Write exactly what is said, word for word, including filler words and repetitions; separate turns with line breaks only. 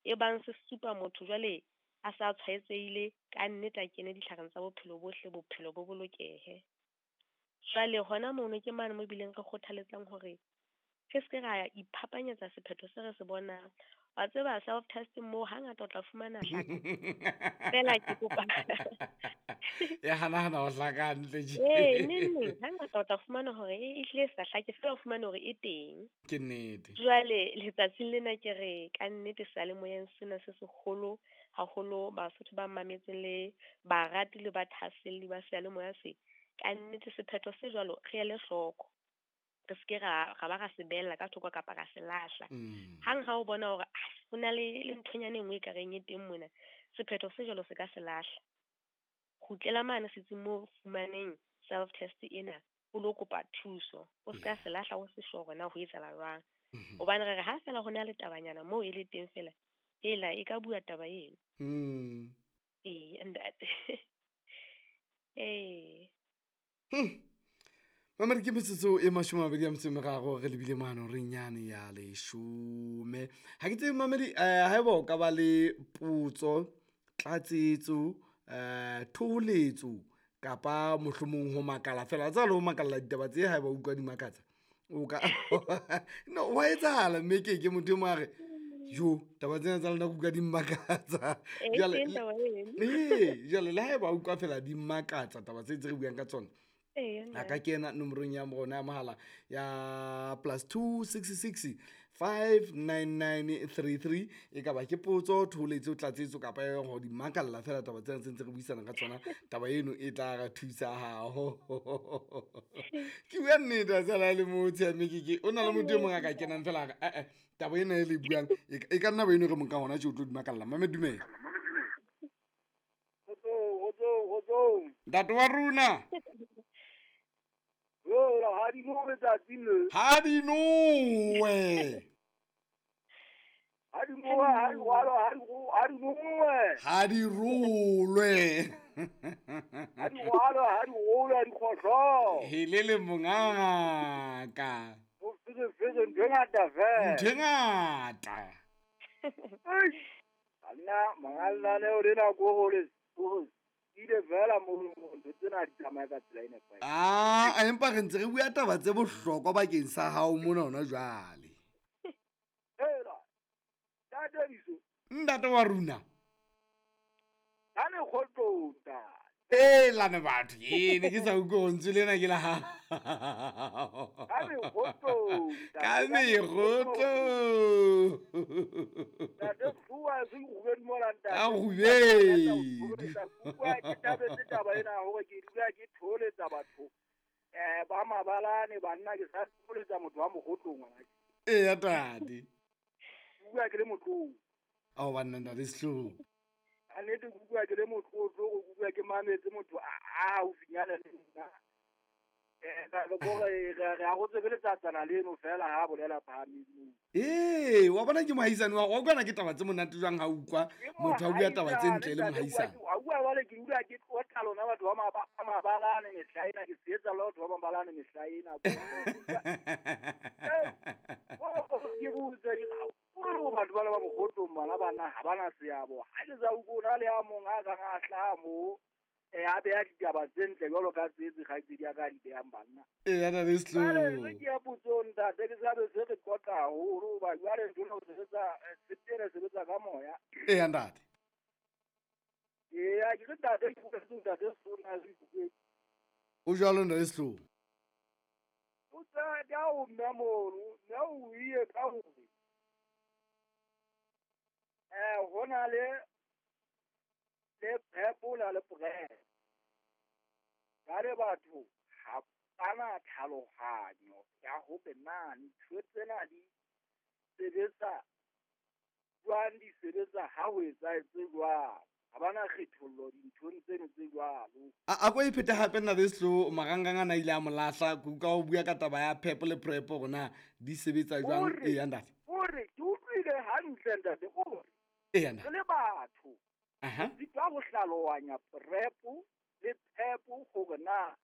E bang se supa motho jwale a sa tshwaetsehile ka nnete a kene ditlhareng tsa bophelo bohle, bophelo bo bolokehe. Jwale hona mono ke mane mo bileng re kgothaletsang hore re se ke ra iphapanyetsa sephetho se re se bonang. Wa tseba self testing moo hangata o tla fumana hlaka. Fela ke kopa.
Ya hana hana ho hlaka hantle tje.
Ee, neng neng hangata o tla fumana hore e hlile e sa hlake, fela o fumane hore e teng.
Ke nnete.
Jwale letsatsing lena ke re ka nnete seyalemoyeng sena se seholo haholo, Basotho ba mametseng le barati le bathahaselli ba seyalemoya se, ka nnete sephetho se jwalo re ele hloko. Re se ke ra ra ba ra se behella ka thoko kapa ra se lahla.
Mm.
Hang ha o bona hore ah, ho na le le nthonyana e nngwe e ka reng e teng mona, sephetho se jwalo se ka se lahla. Kgutlela mane setsing moo fumaneng self test ena, o lo kopa thuso. O se ka se lahla o se sure hore na ho etsahala jwang.
Mhm.
Hobane re re ha fela ho na le tabanyana moo e le teng fela, ela e ka bua taba eno.
Mm.
Ee, ntate. Ee.
Hmm. Mamedi, ke metsotso e mashome a mabedi a metso e meraro re lebile mane re nyane ya leshome. Ha ke tsebe mamedi, eh, haeba o ka ba le potso, tlatsetso, eh, thoholetso kapa mohlomong ho makala fela, wa tseba le ho makalla ditaba tse haeba o utlwa di makatsa. O ka no, wa etsahala mme ke ke motho e mong a re, jo, taba tsena tsa lona ke utlwa di mmakatsa.
Ee,
Jwale
teng taba eno.
Ee, jwale le haeba o utlwa fela di mmakatsa taba tse tse re buang ka tsona,
Ee,
a ka kena nomorong ya rona ya mohala ya plus two six six five nine nine three three. E ka ba ke potso, thoholetso, tlatsetso kapa e ho di makalla fela taba tsena tse ntse re buisana ka tsona, taba eno e tla re thusa haholo. Ke bua nnete, a sa le mo tshiame ke ke o na le motho e mong a ka kenang fela a re, eh, eh, taba ena e le buang, e ka, e ka nna ba eno re mong ka hona tje o tlo di makalla. Mame, dumela.
Kgotsong, kgotsong, kgotsong.
Ntate wa rona.
Yo, ha di nowe letsatsi le.
Ha di nowe.
Ha di nowe, ha di rwalwe, ha di ro-, ha di nowe.
Ha di rolwe.
Ha di rwalwe, ha di rolwe, ha di kgohlo.
Helele mongaka.
O fetse, fetse, ntho e ngata fela.
Ntho e ngata.
Eish. Banna, monga lenaneo lena ko hore, ko hore ile fela mo ntho tsena di tsamaya ka tsela e nepahetseng.
Ah, empa re ntse re bua taba tse bohlokwa bakeng sa hao mona hona jwale.
Hela, ntate Biso.
Ntate wa rona.
Ka ne kgotlong, ntate.
Hela ne batho, ee, ne ke sa utlwe ho ntswe lena ke la ha.
Ka mekgotlong, ntate.
Ka mekgotlong.
Ntate, bua se kgubedi mola, ntate.
Ka kgubedi.
Bua, ke thabetse taba ena hore ke dula ke thoholetsa batho. Eh, ba mabalane, banna, ke sa thoholetsa motho wa mokgotlong, ngwana.
Eya, ntate.
Bua ke le motlotlo.
Ao, banna, ntate Sehloho.
Ka nnete ke bua ke le motlotlo, ke bua ke mametse motho a, a haufinyana le nna. Eh, ka re kore re, re a go tsebe letsatsana leno fela ha bolela phahameng moo.
Ee, wa bona ke mohaisane wa, wa utlwa ke taba tse monate jwang ha utlwa
Ke
motho a bua taba tse ntle le
mohaisane,
mohaisane.
Wa bua jwale ke dula ke tlotla lona batho ba maba-, ba mabalane mehla ena, ke tshehetsa le batho ba mabalane mehla ena. Eh, ke botse ke re, ha batho ba le ba mokgotlong bana bana ha bana seabo. Ha ke sa utlwe ho na le a mong a kang a hlaha moo, eh, a beha ditaba tse ntle jwalo ka tse tse kgaitsedi ya ka a di behang banna.
Ee, a na le
Jwale
sehloho.
re ke ya potsong, ntate, ke sa be se re qoqa haholo hoba jwale ntho ena o sebetsa, eh, setene sebetsa ka moya.
Eya, ntate.
Eya, ke re ntate, ke utlwetse ntate Sehloho a re utlwetse.
O jwalo, ntate Sehloho?
O tsa ka o mme mono, mme o ile ka hore, eh, ho na le, le phepo le le prep. Jwale batho ha ba na tlhalohanyo ya hore na ntho tsena di sebetsa jwang, di sebetsa ha ho etsahetse jwang. Ha ba na kgethollo dinthong tseno tse jwalo.
A, a ko iphete hape nna le Sehloho, marangrang ana a ile a mo lahla, ke utlwa o bua ka taba ya phepo le prep hore na di sebetsa jwang.
Hore,
Eya, ntate.
hore ke utlwile hantle, ntate, hore
Eya, ntate.
re le batho,
Aha.
re sitwa ho hlalohanya prep le phepo hore na